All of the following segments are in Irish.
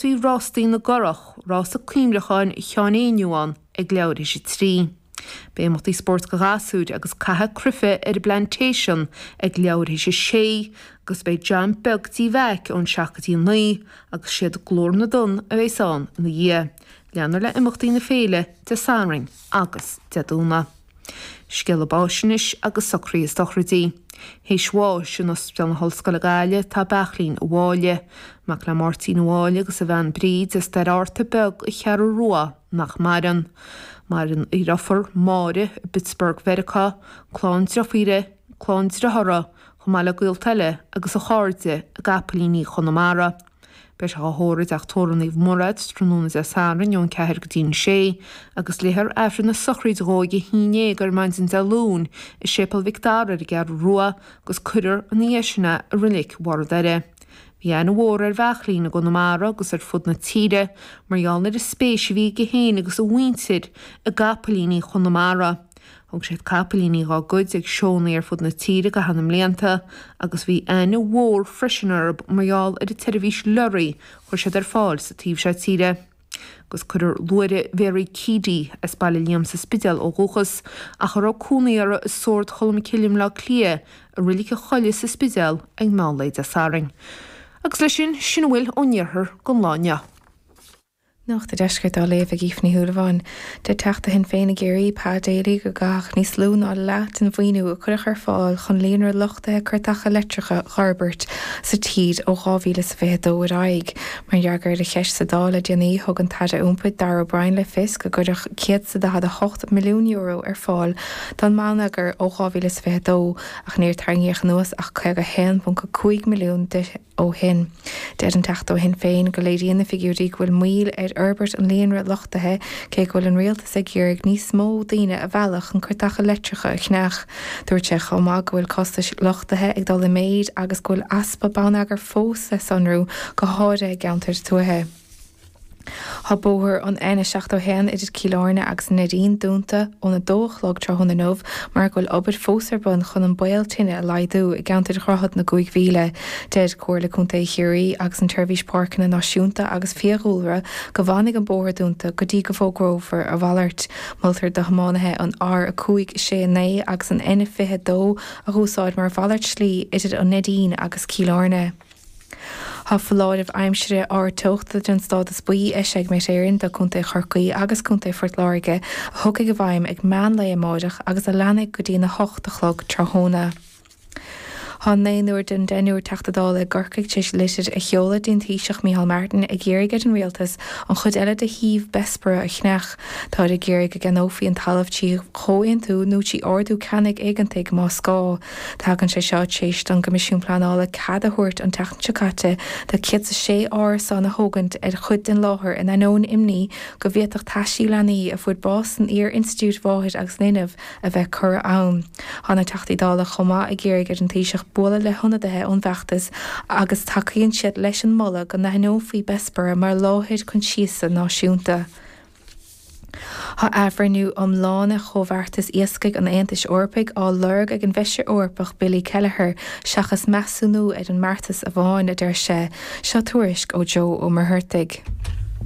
Bhí Rástaí na gCurrach, Rása Cuimhneacháin Sheáin Éinniú ann ag leathuair théis a 3. Beidh imeachtaí spóirt do ghasúir agus caitheamh cruife ar an bPlantation ag leathuair théis a 6 agus beidh Jam beag Tí Mheaic ón 7 go dtí a 9 agus siad Glór na dTonn a bheas ann ina dhiaidh. Leanfar le imeachtaí na féile Dé Sathairn agus Dé Domhnaigh. Scéala báis anois agus socruithe sochraidí. Théis bháis in Ospidéal na hOllscoile Gaillimh tá Beachlín Ó Mháille, mac le Máirtín Ó Mháille agus a bhean Bríd as Doire Fhearta Beag an Cheathrú Rua nach maireann. Maireann a dhriofar, Máire, i bPittsburgh Mheiriceá, clann driofíre, clann driothara, chomh maith le gaolta eile agus a chairde i gCapaillíní Chonamara. Beidh sé á thórramh i dTeach Tórraimh Naomh Murad tráthnóna Dé Sathairn ón 4 go dtí an 6 agus léifear Aifreann na sochraide dhó ag 11 ar maidin Dé Luain i Séipéal Mhic Dara ar an gCeathrú Rua agus cuirfear ina dhiaidh sin é i Reilig Bharr an Doire. Bhí aithne mhór ar Bheachlín i gConamara agus ar fud na tíre mar gheall ar an spéis a bhí aige féin agus a mhuintir i gcapaillíní Chonamara. Thug siad capaillíní dhá gcuid ag seónna ar fud na tíre i gcaitheamh na mblianta agus bhí aithne mhór freisin orthu mar gheall ar an tseirbhís leoraí a chuir siad ar fáil sa taobh seo tíre. Agus cuirfear luaithre Mhary Keady, as Baile Liam sa Spidéal ó dhúchas, ach a raibh cónaí uirthi i Sord Cholm Cille i mBleá Cliath, i Reilig an Choilligh sa Spidéal ag meán lae Dé Sathairn. Agus leis sin, sin a bhfuil ón iarthar don lá inniu. Nuacht an Deiscirt á léamh ag Aoife Ní Shúilleabháin. Deir Teachta Shinn Féin i gCiarraí, Pa Daly, go gcaithfeadh níos lú ná leath den mhaoiniú a cuireadh ar fáil chun líonra luchtaithe cairteacha leictreacha a fhorbairt sa tír ó 2022 ar aghaidh. Mar fhreagra ar cheist sa Dáil le déanaí, thug an tAire Iompair Darragh O'Brien le fios go gcuirfeadh €148 milliún ar fáil don mbonneagar ó 2022 ach níor tarraingíodh anuas ach 51.5 milliún de ó shin. Deir an Teachta ó Shinn Féin go léiríonn na figiúirí go bhfuil moill ar fhorbairt an líonra luchtaithe cé go bhfuil an rialtas ag iarraidh níos mó daoine a mhealladh chun cairteacha leictreacha a cheannach. Dúirt sé chomh maith go bhfuil costais luchtaithe ag dul i méid agus go bhfuil easpa bonneagair fós le sonrú go háirithe i gceantair tuaithe. Tá bóthar an N71 idir Cill Airne agus an Neidín dúnta ón 2 a chlog tráthnóna inniu mar go bhfuil obair fós ar bun chun an baol tine a laghdú i gceantar Dhroichead na gCúig Mhíle. Deir Comhairle Contae Chiarraí agus an tSeirbhís Páirceanna Náisiúnta agus Fiadhúlra go bhfanfaidh an bóthar dúnta go dtí go bhfógrófar a mhalairt. Moltar do thiománaithe an R5 6 9 agus an N22 a dh'úsáid mar mhalairt slí idir an Neidín agus Cill Airne. Tá foláireamh aimsire ardteochta den stádas buí eisithe ag Met Éireann do Contae Chorcaí agus Contae Phort Láirge a thiocfaidh i bhfeidhm ag meán lae amáireach agus a leanfaidh go dtí an 8 a chlog tráthnóna. Tá naonúr den deichniúr Teachta Dála i gCorcaigh tar éis litir a sheoladh dtí'n Taoiseach Micheál Martin ag iarraidh ar an Rialtas an chuid eile de shuíomh Bessborough a cheannach. Táid ag iarraidh go gceannófaí an talamh trí chomhaontú nó trí ordú ceannaigh éigeantaigh más gá. Tagann sé seo tar éis don gCoimisiún Pleanála cead a thabhairt an tseachtain seo caite do 106 árasán a thógaint ar chuid den láthair in ainneoin imní go bhféadfadh taisí leanaí a fuair bás san iar-institiúid mháthair agus linbh a bheith curtha ann. Tá na Teachtaí Dála chomh maith ag iarraidh ar an Taoiseach bualadh le hionadaithe ón bhfeachtas agus tacaíonn siad leis an moladh go n-aithneofaí Bessborough mar láthair coinsiasa náisiúnta. Tá athbhreithniú iomlán ar chomhbheartas iascaigh an Aontais Eorpaigh á lorg ag an bhFeisire Eorpach Billy Kelleher seachas measúnú ar an mbeartas amháin, a deir sé. Seo tuairisc ó Joe Ó Muircheartaigh.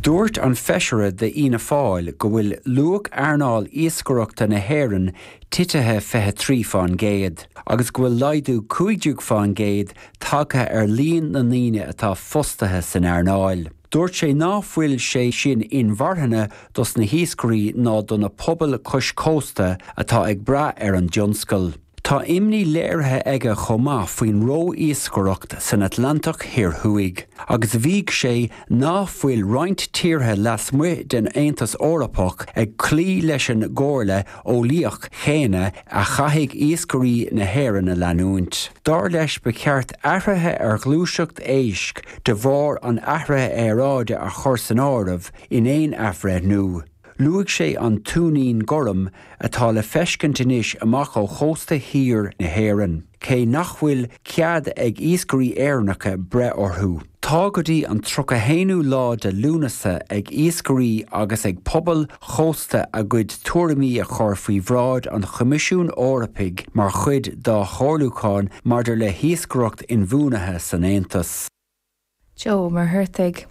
Dúirt an Feisire d'Fhianna Fáil go bhfuil luach earnáil iascaireachta na hÉireann titithe 23 fán gcéad agus go bhfuil laghdú 15 fán gcéad tagtha ar líon na ndaoine atá fostaithe san earnáil. Dúirt sé ná fuil sé sin inmharthana dos na hiascairí ná do na pobail cois cósta atá ag brath ar an dtionscal. Tá imní léirithe aige chomh maith faoin ró-iascaireacht san Atlantach Thoir Thuaidh agus mhaígh sé ná fuil roinnt tíortha lasmuigh den Aontas Eorpach ag cloí leis an gcomhairle eolaíoch chéanna a chaithfidh iascairí na hÉireann a leanúint. Dar leis ba cheart athruithe ar ghluaiseacht éisc de bharr an athraithe aeráide a chur san áireamh in aon athbhreithniú. Luaigh sé an tuinnín gorm atá le feiscint anois amach ó chósta thiar na hÉireann, cé nach bhfuil cead ag iascairí Éireannacha breith orthu. Tá go dtí an 31ú lá de Lúnasa ag iascairí agus ag pobail chósta a gcuid tuairimí a chur faoi bhráid an Choimisiúin Eorpaigh mar chuid dá chomhairliúchán maidir le hiascaireacht inbhuanaithe san Aontas. Joe Ó Muircheartaigh.